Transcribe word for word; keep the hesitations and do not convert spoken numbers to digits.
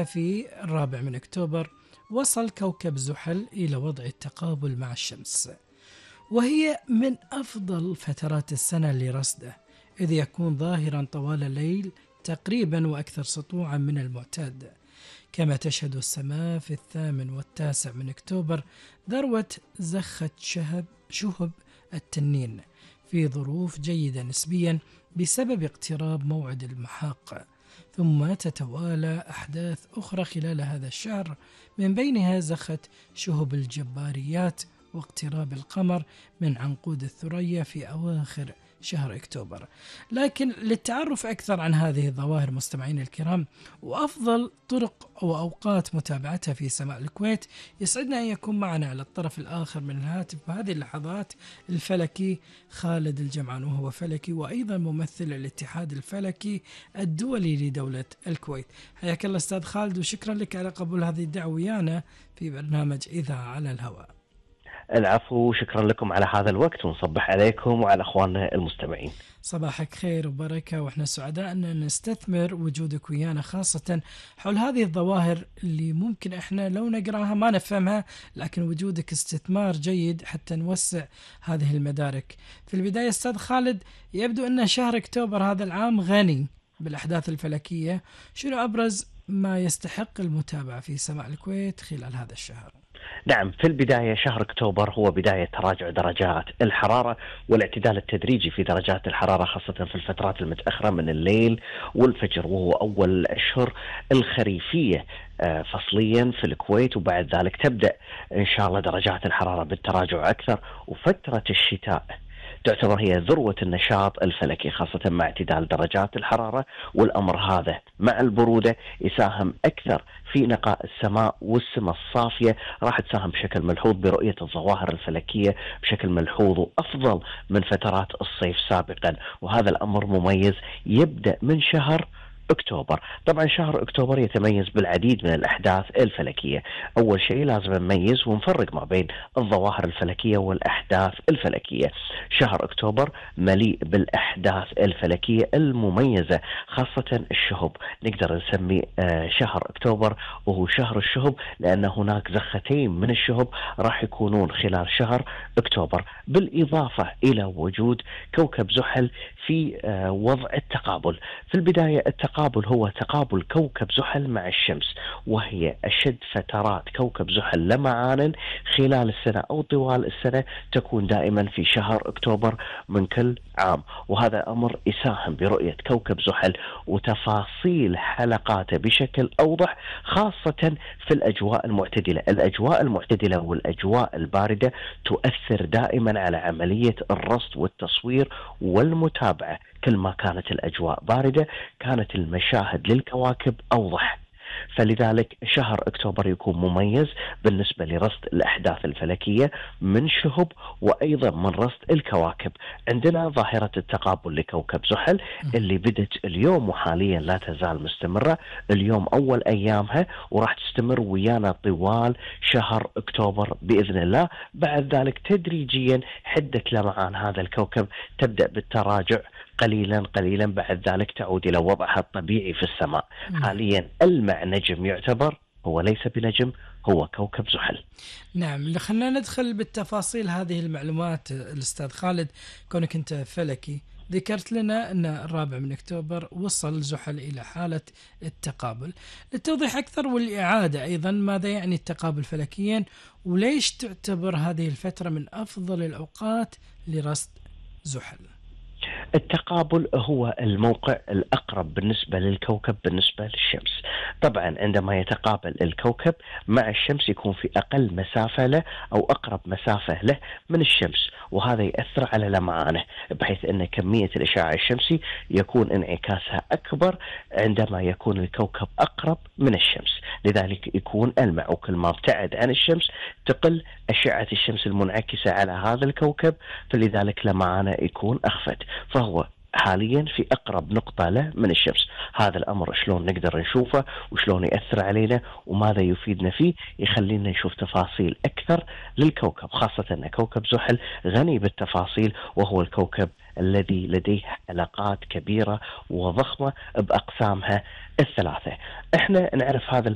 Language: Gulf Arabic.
في الرابع من أكتوبر وصل كوكب زحل إلى وضع التقابل مع الشمس، وهي من أفضل فترات السنة لرصده، إذ يكون ظاهرا طوال الليل تقريبا وأكثر سطوعا من المعتاد. كما تشهد السماء في الثامن والتاسع من أكتوبر ذروة زخة شهب شهب التنين في ظروف جيدة نسبيا بسبب اقتراب موعد المحاق، ثم تتوالى أحداث أخرى خلال هذا الشهر، من بينها زخة شهب الجباريات واقتراب القمر من عنقود الثريا في أواخر شهر أكتوبر. لكن للتعرف أكثر عن هذه الظواهر مستمعين الكرام وأفضل طرق أو أوقات متابعتها في سماء الكويت، يسعدنا أن يكون معنا على الطرف الآخر من الهاتف بهذه اللحظات الفلكي خالد الجمعان، وهو فلكي وأيضا ممثل الاتحاد الفلكي الدولي لدولة الكويت. حياك الله أستاذ خالد، وشكرا لك على قبول هذه الدعوة ويانا في برنامج إذاعة على الهواء. العفو، شكرا لكم على هذا الوقت، ونصبح عليكم وعلى أخواننا المستمعين. صباحك خير وبركة، وإحنا سعداء أن نستثمر وجودك ويانا، خاصة حول هذه الظواهر اللي ممكن إحنا لو نقراها ما نفهمها، لكن وجودك استثمار جيد حتى نوسع هذه المدارك. في البداية أستاذ خالد، يبدو أن شهر أكتوبر هذا العام غني بالأحداث الفلكية، شنو أبرز ما يستحق المتابعة في سماء الكويت خلال هذا الشهر؟ نعم، في البداية شهر أكتوبر هو بداية تراجع درجات الحرارة والاعتدال التدريجي في درجات الحرارة، خاصة في الفترات المتأخرة من الليل والفجر، وهو أول الأشهر الخريفية فصليا في الكويت، وبعد ذلك تبدأ إن شاء الله درجات الحرارة بالتراجع أكثر، وفترة الشتاء تعتبر هي ذروة النشاط الفلكي، خاصة مع اعتدال درجات الحرارة، والأمر هذا مع البرودة يساهم أكثر في نقاء السماء، والسماء الصافية راح تساهم بشكل ملحوظ برؤية الظواهر الفلكية بشكل ملحوظ وأفضل من فترات الصيف سابقا، وهذا الأمر مميز يبدأ من شهر أكتوبر. طبعا شهر أكتوبر يتميز بالعديد من الأحداث الفلكية. أول شيء لازم نميز ونفرق ما بين الظواهر الفلكية والأحداث الفلكية. شهر أكتوبر مليء بالأحداث الفلكية المميزة، خاصة الشهب. نقدر نسمي شهر أكتوبر وهو شهر الشهب، لأن هناك زختين من الشهب راح يكونون خلال شهر أكتوبر، بالإضافة إلى وجود كوكب زحل في وضع التقابل. في البداية التقابل هو تقابل كوكب زحل مع الشمس، وهي أشد فترات كوكب زحل لمعانا خلال السنة أو طوال السنة، تكون دائما في شهر أكتوبر من كل عام، وهذا أمر يساهم برؤية كوكب زحل وتفاصيل حلقاته بشكل أوضح، خاصة في الأجواء المعتدلة. الأجواء المعتدلة والأجواء الباردة تؤثر دائما على عملية الرصد والتصوير والمتابعة. كل ما كانت الأجواء باردة كانت المشاهد للكواكب أوضح، فلذلك شهر أكتوبر يكون مميز بالنسبة لرصد الأحداث الفلكية من شهب وأيضا من رصد الكواكب. عندنا ظاهرة التقابل لكوكب زحل اللي بدت اليوم وحاليا لا تزال مستمرة، اليوم أول أيامها وراح تستمر ويانا طوال شهر أكتوبر بإذن الله. بعد ذلك تدريجيا حدة لمعان هذا الكوكب تبدأ بالتراجع قليلا قليلا، بعد ذلك تعود إلى وضعها الطبيعي في السماء. م. حاليا المع نجم يعتبر، هو ليس بنجم، هو كوكب زحل. نعم، خلينا ندخل بالتفاصيل هذه المعلومات الأستاذ خالد. كونك أنت فلكي ذكرت لنا أن الرابع من أكتوبر وصل زحل إلى حالة التقابل. للتوضيح أكثر والإعادة أيضا، ماذا يعني التقابل فلكيا، وليش تعتبر هذه الفترة من أفضل الأوقات لرصد زحل؟ التقابل هو الموقع الأقرب بالنسبة للكوكب بالنسبة للشمس. طبعا عندما يتقابل الكوكب مع الشمس يكون في أقل مسافة له أو أقرب مسافة له من الشمس، وهذا يأثر على لمعانه، بحيث أن كمية الإشعاع الشمسي يكون انعكاسها أكبر عندما يكون الكوكب أقرب من الشمس، لذلك يكون ألمع. وكل ما ابتعد عن الشمس تقل أشعة الشمس المنعكسة على هذا الكوكب، فلذلك لمعانه يكون أخفت، فهو حاليا في أقرب نقطة له من الشمس. هذا الأمر شلون نقدر نشوفه وشلون يأثر علينا وماذا يفيدنا فيه، يخلينا نشوف تفاصيل أكثر للكوكب، خاصة أن كوكب زحل غني بالتفاصيل، وهو الكوكب الذي لديه علاقات كبيرة وضخمة بأقسامها الثلاثة. احنا نعرف هذا